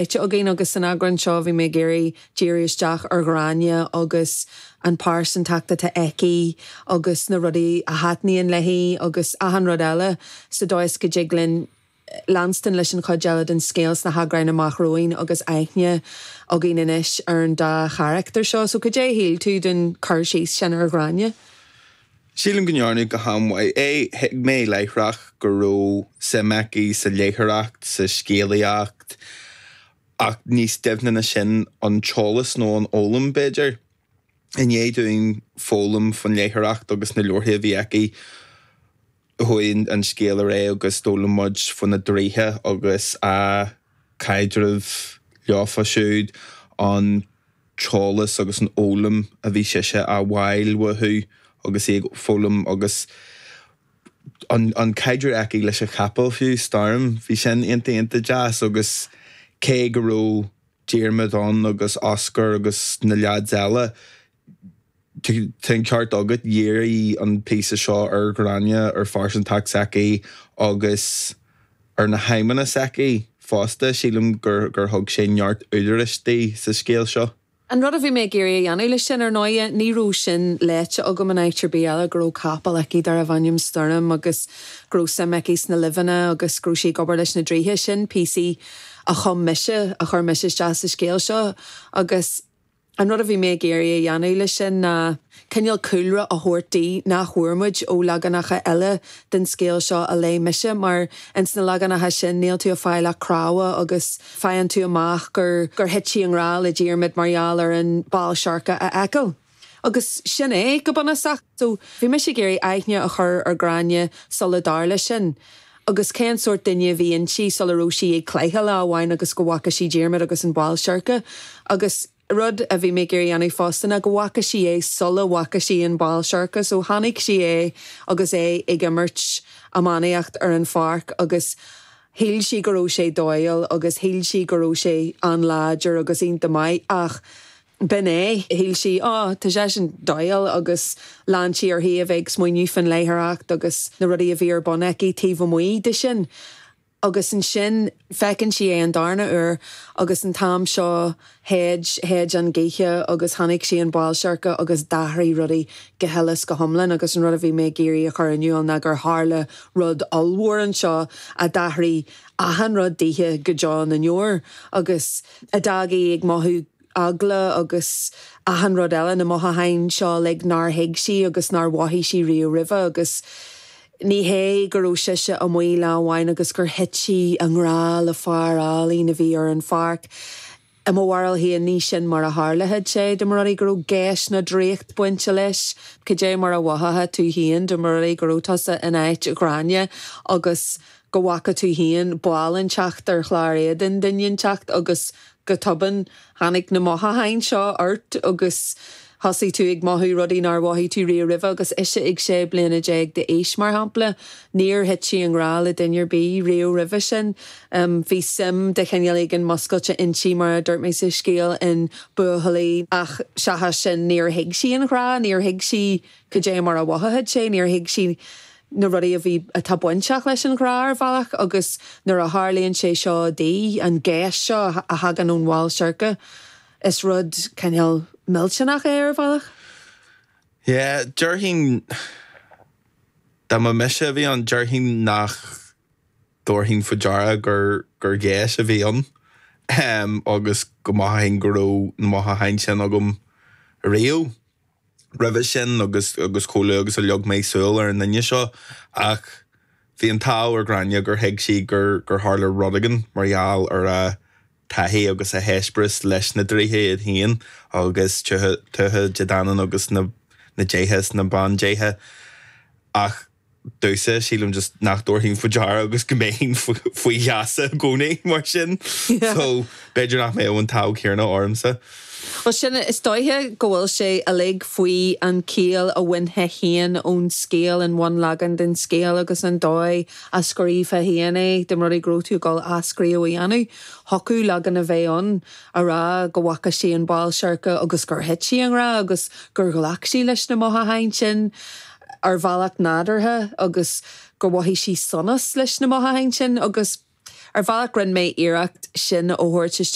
Léite againn agus san eagrán seo bhí mé ag iarraidh díriú isteach ar Ghráinne agus an pearsantacht atá aici agus na rudaí a thaitníonn léi agus achan rud eile sa dóigh is go dtig linn leanstan leis an chuid eile den scéal sna heagráin amach romhainn agus aithne againn anois ar an dá charachtar seo. So cad é a shíl tú den cur síos sin ar Ghráinne? Sílim go ndearnadh go han-mhaith é. Thuig mé láithreach go raibh suim aici sa léitheoireacht, sa scéalaíocht, ach níos doimhne ná sin, an t-eolas nó an fhoghlaim, b'fhéidir. I ndiaidh dúinn foghlaim faoin léitheoireacht agus na leabharthaí a bhí aici, chuaigh an scéal ar aghaidh agus d'fhoghlaim muid faoi na draoithe agus a caidreamh leofa siúd, an t-eolas agus an fhoghlaim a bhí sise á bhfáil uathu agus í ag foghlaim agus an an caidreamh aici leis an chapall fiú, Storm, bhí sin iontach iontach deas agus cé go raibh Diarmuid ann agus Oscar agus na leaids eile, tá an ceart agat, dhírigh an píosa seo ar Ghráinne, ar phearsantacht s'aici agus ar na haidhmeanna s'aici fosta. Sílim gur gur thug sé neart údaráis di sa scéal seo. An rud a bhí mé ag iarraidh a dhéanamh leis sin, ar ndóighe, ní raibh sin léite agam in áit ar bith eile, go raibh capall aici darbh ainm Storm agus go raibh suim aici sna luibheanna agus go raibh sí ag obair leis na draoithe. Sin píosaí a chum mise, a chuir mise isteach sa scéal seo agus. An rud a bhí mé ag iarraidh a dhéanamh leis sin ná cineál cúlra a thabhairt di nach bhfuair muid ó leaganacha eile den scéal seo a léigh mise, mar ins na leaganacha sin níl tú ag fáil ach cnámha agus faigheann tú amach gur gur thit sí i ngrá le Diarmaid mar gheall ar an ball seirce a fheiceáil. Agus sin é, go bunúsach. So, bhí mise ag iarraidh aithne a chur ar Ghráinne sula dtarla sin. Agus cén sórt duine a bhí inti sula raibh sí ag cladhaire lá amháin agus go bhfaca sí Diarmaid agus an ball seirce. Agus rud a bhí mé ag iarraidh a dhéanamh fosta ná go bhfaca sí é sula bhfaca sí an ball seirce. So chonaic sí é agus é ag imirt iománaíocht ar an pháirc agus shíl sí go raibh sé dóighiúil agus shíl sí go raibh sé an-láidir agus iontach maith ach B'in é. Shíl sí, Á, tá seisean dóighiúil agus lean sí uirthi a bheith ag smaoineamh faoin léitheoireacht agus na rudaí a bhí ar bun aici taobh amuigh de sin. Agus ansin feiceann sí é an darna huair agus an t-am seo shéid, shéid an ghaoth agus chonaic sí an ball seirce agus d'athraigh rudaí go huile is go hiomlán agus an rud a bhí mé ag iarraidh a chur in iúl ná gur tharla rud ollmhór anseo a d'athraigh achan rud dithe go deo na ndeor agus a d'fhág í ag mothú eagla agus achan rud eile, na mothúcháin seo uilig nár thuig sí agus nár mhothaigh sí riamh roimhe agus ní hé go raibh sise amuigh lá amháin agus gur thit sí i ngrá le fear álainn a bhí ar an pháirc. I mo bharúil féin ní sin mar a tharlaíonn sé, dá mba rud é go raibh geis nó draíocht bainte leis. Cad é mar a mhothódh tú féin dá mba rud é go raibh tusa in áit Ghráinne agus go bhfaca tú féin ball inteacht ar chlár éadain duine inteacht agus Go tobann, tháinig na mothúcháin seo ort agus thosaigh tú ag mothú rudaí nár mhothaigh tú riamh roimhe agus ise ag 16 bliana d'aois, mar shampla. Níor thit sí i ngrá le duine ar bith riamh roimhe sin. Bhí suim de chineál éigin muscailte inti, mar a dúirt mé sa scéal, in buachaillí ach seachas sin níor thuig sí an ghrá, níor thuig sí cad é mar a mhothaíodh sé, níor thuig sí na rudaí a bhí, atá bainteach leis an ghrá ar bhealach agus nuair a tharlaíonn sé seo di, an gheis seo a thagann ón bhall seirce, is rud cineál millteanach é ar bhealach. Yeah, déarfainn, dá mba mise a bhí ann, déarfainn nach dtabharfainn faoi deara gur gur gheis a bhí ann agus go mothaífinn go raibh na mothúcháin sin agam riamh. roimhe sin agus agus chomh luath agus a leag mé súil ar an duine seo ach bhí an t-ádh ar Ghráinne gur thuig sí gur gur tharla rud éigin mar gheall ar a taithí agus a heispéireas leis na draoithe iad féin agus Tuatha Dé Danann agus na na déithe is na bandéithe ach domhsa, sílim just nach dtabharfainn faoi deara agus go mbeinn faoi gheasa i gcónaí mar sin. So, b'fhéidir nach mbeadh an t-ádh céanna ormsa. Bhuel, sin, is dóiche go bhfuil sé uilig faoi an ciall a bhainfeá féin ón scéal, an bhunleagan den scéal agus an dóigh a scríobhfá féin é, dá mba rud é go raibh tú ag dul athscríobh a dhéanamh. Thiocfadh leagan a bheith ann a rá go bhfaca sí an ball seirce agus gur thit sí i ngrá agus gur ghlac sí leis na mothúcháin sin. ar bhealach nádúrtha agus gur mhothaigh sí sonas leis na mothúcháin sin agus. Ar bhealach rinne mé iarracht sin a thabhairt isteach.